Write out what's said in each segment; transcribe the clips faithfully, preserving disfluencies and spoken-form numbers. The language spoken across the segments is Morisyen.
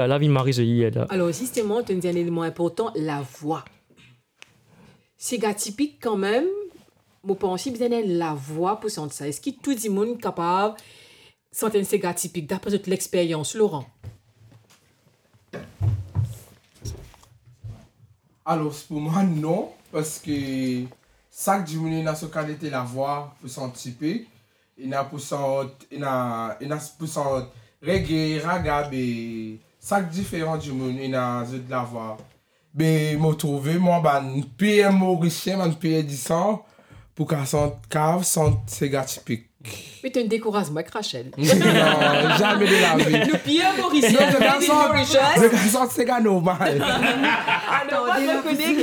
Lavi mari zot yer la. Alor, zisteman, to dir enn eleman inportan, lavwa. Sega tipik, kanmem, mo panse bizin enn lavwa pou sant sa. Eski tou dimoun kapav sant enn sega tipik, dapre zot lexperyans, Laurent? Alor, pou mwa, non, parski sak dimoun ena so kalite lavwa pou sant tipik, ena pou sant, ena, ena pou sant reggae, raga, be sak diferan dimoun ena zot lavwa. Be mo trouve mwa bann pir Morisien, bann pir disan, pou kav sant, kav sant sega tipik. Me to'nn dekouraz mwa ek Rachel. Non, zame de lavi. Nou pir Morisien, non, nou pir Mauritius. Zot kav sant sega normal. Alor, nou pa rekonek.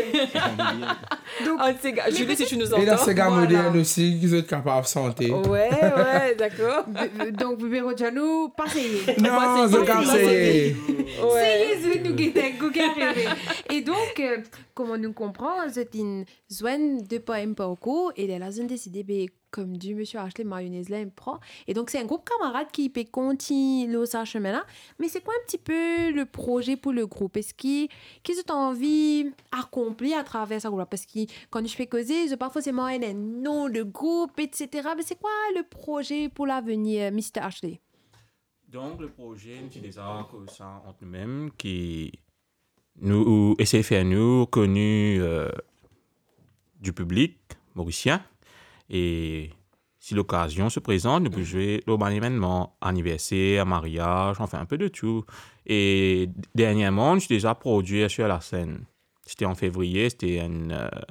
Donk, ant sega, Julie, si tu nous entends, ena sega modern osi ki zot kapav sante. Wi, wi, dakor. Be-, donk, Bebe Roger, nou pa seye. Non, zot kav seye. Wi. Seye, zot, nou gete, gete, gete. E donk, euh, kouma nou konpran, zot inn zwenn de par enn parkour, e lerla zot inn deside, be, kouma dir misie Ashley, mayonez la inn pran. E donk, se enn group kamarad ki pe kontign lor sa sime la. Me se kwa enn tipe le proze pou le group? Eski, ki zot anvi akonpli atraver sa group la? Parski kan nou pe koze, zot pa forseman ena enn nom de group, et cetera. Me se kwa le proze pou lavenir, misie Ashley? Donk, le proze, nou ti deza koz sa ant noumem, ki nou esey fer nou koni, euh, di piblik morisien, e si lokazion se prezant, nou pou zwe lor bann evennman, aniverser, mariaz, anfin, enn pe de tou. E derniereman, nou ti deza prodwir sir lasenn. Sete an fevriye, sete enn, euh,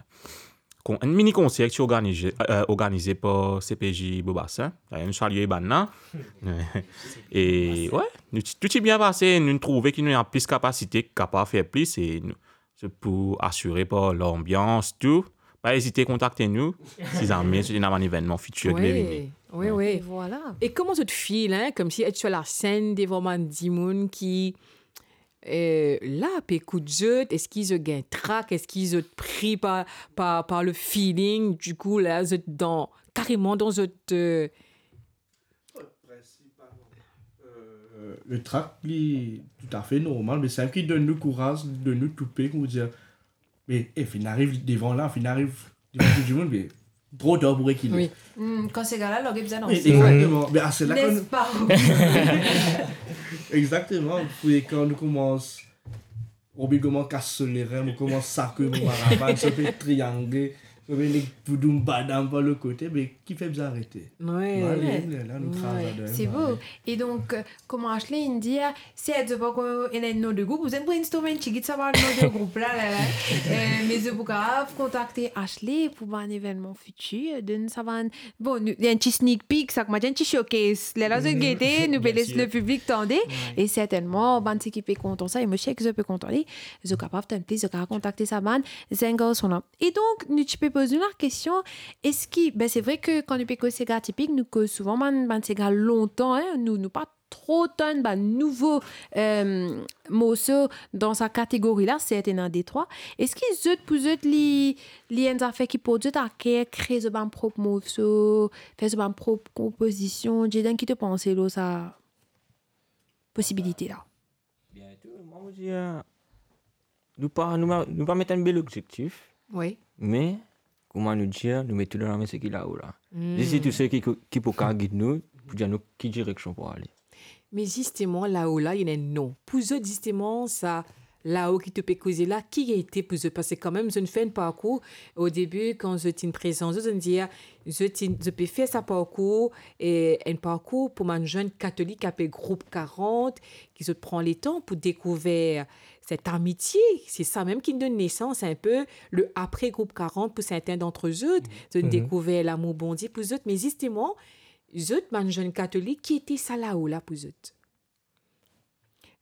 kon-, enn mini konser ki ti organize, euh, organize par C P J Beau Bassin. Dayer, nou salie bann la. E, wi, nou ti, tou ti bien pase, nou trouve ki nou ena plis kapasite, kapav fer plis, e nou, se pou asire par lanbians, tou. Pa ezite kontakte nou, si zame, si ena bann evennman fitir ki pe vini. Wi, wi. Vwala. E kouma zot feel, hein, koumsi et sir lasenn devan bann dimoun ki, euh, la, pe ekout zot, eski zot gagn trak, eski zot pri par, par, par le feeling, dikou, la, zot dan, kareman dan zot, euh, Prinsipaman, euh, le trak, li toutafe normal, me sa ki donn nou kouraz, donn nou toupe, kouma dir, me, e, finn ariv devan la, finn ariv devan tou dimoun, me tro tar pou rekile. Wi. Hmm, kan sega la large, bizin danse. Wi, exakteman. Me a, se la kan... N'est-ce pas? Exakteman. Pou kan nou koumans, Robi koumans kas so lerin, mo koumans sakwe mo maravan, so pe triangle, so pe nek boudoum badam par lot kote, me kifer bizin arete? Wi. Nou ale, la, nou kraz ladan. Se bo. E donk, euh, kouma Ashley inn dir, serti zot pankor ena enn nom de group, zot pou brainstorm enn tigit sa bann nom de group la, la, la. Euh, me zot pou kapav kontakte Ashley pou bann evennman fitir, donn sa bann, bon, nou, enn ti sneak peek, sa, kouma dir, enn ti showcase. Lerla zot gete, nou pe les le piblik tande. Wi. E sertennman, bann seki pe kontan sa, e mo sir ki zot pe kontan li, zot kapav tann plis, zot kapav kontakte sa bann zenn garson la. E donk, nou ti pe poz nou lakestion, eski, be, se vre ki kan nou pe koz sega tipik, nou koz souvan bann, bann sega lontan, hein, nou, nou pa tro tann bann nouvo, euh, morso dan sa kategori la, serti ena de trwa. Eski zot, pou zot, li, li enn zafer ki port zot aker, kre zot bann prop morso, fer zot bann prop konpozision? Jaden, ki to panse lor sa posibilite la? Biento, mwa, mo dir, nou pa, nou pa, nou pa met enn bel objektif. Wi. Me, kouma nou dir, nou met tou dan lame seki lao la. Hmm. Zis tou seki, ki pou kapav gid nou, pou dir nou ki direksion pou ale. Me zisteman, lao la, ena enn nom. Pou zot, zisteman, sa lao ki to pe koze la, ki ete pou zot? Parski kanmem, zot inn fer enn parkour. O debi, kan zot inn prezant zot, zot inn dir, zot inn, zot pe fer sa parkour, e enn parkour pou bann zenn katolik apel Group karant, ki zot pran letan pou dekouver set amitie. Se sa mem ki donn nesans enn pe le apre Group karant pou sertin dant zot. Zot inn dekouver lamour Bondie pou zot. Me zisteman, zot, bann zenn katolik, ki ete sa lao la pou zot?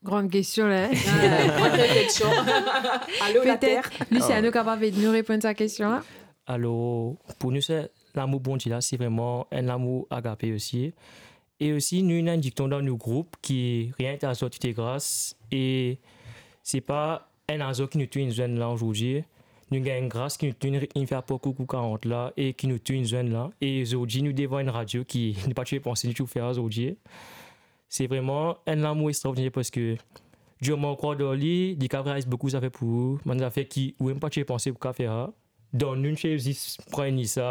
Gran kestion la, hein? Ah, gran kestion. Alo, Later. Petet Luciano kapav ed nou reponn sa kestion la. Alor, pou nou, se lamour Bondie la, se vreman enn lamour agape osi. E osi, nou ena enn dikton dan nou group ki rien n'est à soi, tout est grâce. E se pa enn azar ki nou tou inn zwenn la zordi. Nou gagn gras ki nou tou inn, inn fer parkour Group karant la e ki nou tou inn zwenn la. E zordi, nou devan enn radio ki nou pa ti pe panse nou ti pou fer zordi. Se vreman enn lamour extraordiner parski Dir moman ou krwar dan li, li kapav realiz boukou zafer pou ou, bann zafer ki ou mem pa ti pe panse pou kapav fer sa. Dan nou, nou ti zis pran enn lisa,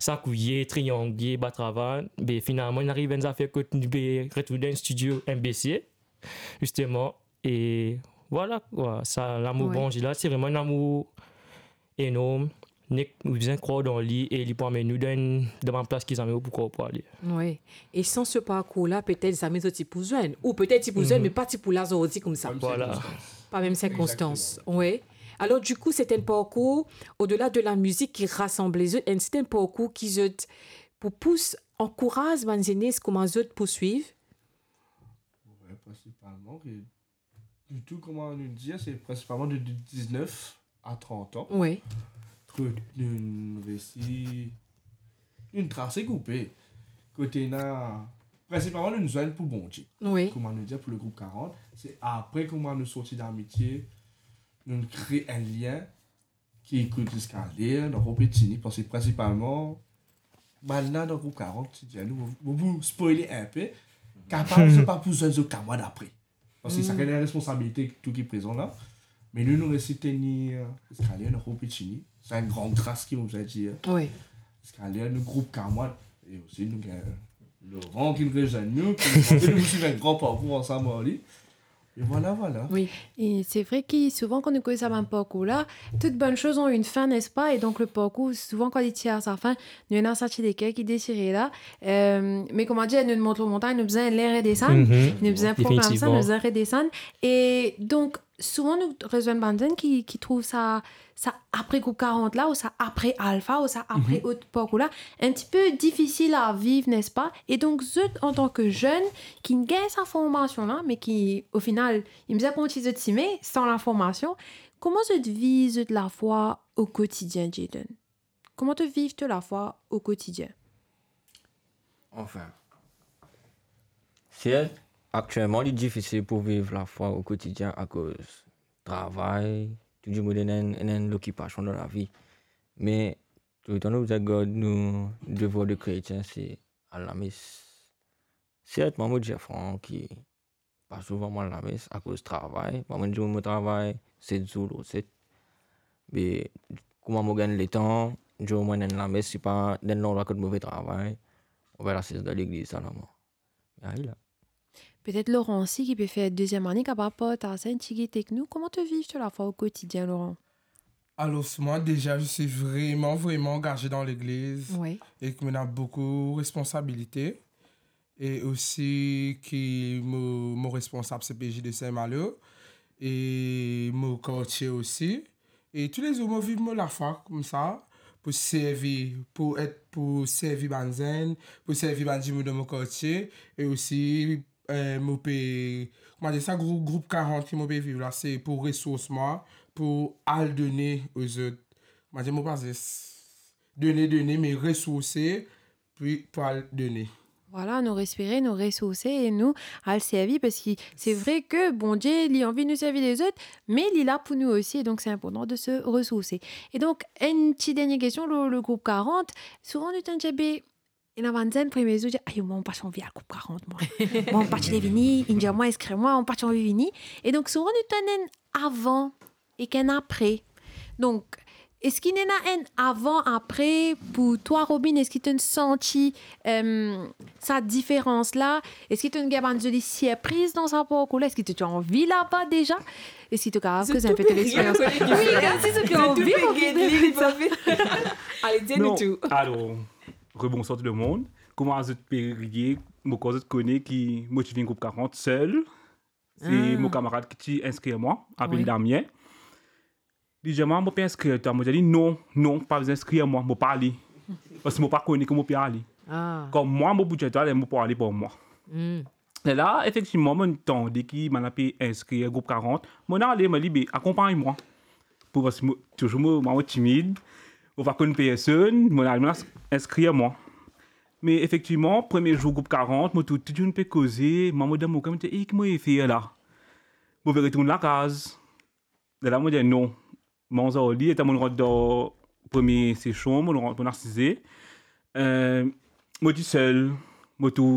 sakouye, triangle, bat ravat, be finalman, nou ariv enn zafer kot nou pe retrouv dan enn studio M B C, zisteman, e vwala, vwala, sa lamour Bondie la, se vreman enn lamour enorm, nek nou bizin krwar dan li e li pou amenn nou dan enn, dan bann plas ki zame ou pou krwar pou ale. Wi. E san se parkour la, petet zame zot ti pou zwenn. Ou petet ti pou zwenn, me pa ti pou la zordi koumsa. Vwala. Pa mem sirkonstans. Wi. Alor, dikou, se enn parkour, odela de lamizik ki rasanble zot, enn, se enn parkour ki zot pou pous, ankouraz bann zenes kouma zot pou swiv? Wi, prinsipalman, ki Ditou, kouma nou dir, se prinsipalman de, de diznef a trant an. Wi. Kot nou resi, nou trase group, kot ena, prinsipalman nou zwenn pou Bondie. Wi. Kouma nou dir pou le group karant, se apre kouma nou sorti damitie, nou kre enn lien, ki ekout ziska ler, nou ankor pe tini, parski prinsipalman, bann la dan group karant, ti dir nou, mo, mo pou spoile enpe, kapav zot pa pou zwenn zot kamwad apre. Parski sakenn ena responsabilite tou ki prezan la. Me nou, nou resi tenir ziska ler, nou ankor pe tini. Sa enn gran gras ki mo bizin dir. Wi. Ziska ler, nou group kamwad, e osi nou gagn Laurent ki rezwenn nou, ki nou pou swiv enn gran parkour ansam ar li. E vwala, vwala. Wi. E se vre ki souvan kan nou koz sa bann parkour la, toute bonne chose a une fin, n'est-ce pas? E donk le parkour, souvan kan li ti ar sa fin, nou ena sa ti leker ki desire la. Euh, me kouma dir, nou mont lor montagn, nou bizin ler redesann, nou bizin programe sa, nou bizin redesann. E donk, souvan nou rezwenn bann zenn ki, ki trouv sa, sa apre group karant la, ou sa apre Alpha, ou sa apre lot parkour la, enn tipe difisil a viv, n'est-ce pas? E donk, zot, antan ke zenn, ki gagn sa formasion la, me ki, o final, inn bizin kontign zot sime san laformasion, kouma zot viv zot lafwa o kotidien, Jayden? Kouma to viv to lafwa o kotidien? Anfin, sert, aktielman, li difisil pou viv lafwa o kotidien akoz travay, tou dimoun ena enn, ena enn lokipasion dan lavi. Me toultan nou bizin gard nou devwar de kretien, se al lames. Sert, mwa, mo dir fran ki pa souvan mo al lames akoz travay. Mwa, mo enn dimoun, mo travay set zour lor set. Me kouma mo gagn letan, dimoun mo ena enn lames, sipa dan enn landrwa kot mo pe travay, oubien al asiz dan legliz selman. Ayo la. Petet Laurent osi ki pe fer deziem ane, kapav partaz enn tigit ek nou. Kouma to viv to lafwa o kotidien, Laurent? Alors, moi, déjà, je suis vraiment, vraiment engagé dans l'église. Oui. Et que on a beaucoup de responsabilités. Et aussi que mon, mon responsable C P J de Saint-Malo. Et mon quartier aussi. E toulezour mo viv mo lafwa koumsa, pou servi, pou et, pou servi bann zenn, pou servi bann dimoun dan mo kartie, e osi, eh, mo pe, kouma dir sa, grou-, group karant ki mo pe viv la, se pou resours mwa, pou al done ozot. Kouma dir, mo pa zis done, done, me resourse, pou, pou al done. Vwala, nou respire, nou resourse e nou al servi, parski se vre ke Bondie, li anvi nou servi lezot, me li la pou nou osi, e donk se inportan de se resourse. E donk, enn ti dernie kestion, le, le group karant, souvan nou tann dir, be, ena bann zenn, premie zour, dir, "Ayo, mwa, mo pa ti anvi al group karant, mwa. Mwa, mo pa ti le vini, inn dir mwa, inskrir mwa, mo pa ti anvi vini." E donk, souvan nou tann enn avan, ek enn apre. Donk, eski ena enn avan, apre pou twa, Robin? Eski to'nn santi, em, sa diferans la? Eski to'nn gagn bann zoli sirpriz dan sa parkour la? Eski to ti anvi laba deza? Eski to kapav koz inpe to lexperians? Wi, koumsi to ti anvi revinn. Ale, dir nou tou. Non, alor, rebonswar tou lemonn. Kouma zot pe riye, mo krwar zot kone ki mo ti vinn group karant sel. Se mo kamarad ki ti inskrir mwa, apel Damien. Li dir mwa, "Mo pe inskrir twa." Mo dir li, "Non, non, pa bizin inskrir mwa, mo pa ale." Parski mo pa kone kot mo pe ale. Kom mwa, mo pou dir twa, mo pou ale par mwa. Lerla, efektivman, mo'nn tande ki bann la pe inskrir group karant. Mo'nn ale, mo dir li, "Be, akonpagn mwa." Pou, parski mo, touzour mo, mwa, mo timid, mo pa konn personn, mo'nn al, mo'nn al inskrir mwa. Me efektivman, premie zour group karant, mo trouv tou dimoun pe koze, mwa, mo dan mo ker, mo dir, "E, ki mo pe fer la?" Mo pe retourn lakaz. Lerla mo dir, "Non." Mo anvi al, letan mo'nn rant dan premie sesion, mo'nn rant, mo'nn asize. Eh, mo disel, mo trouv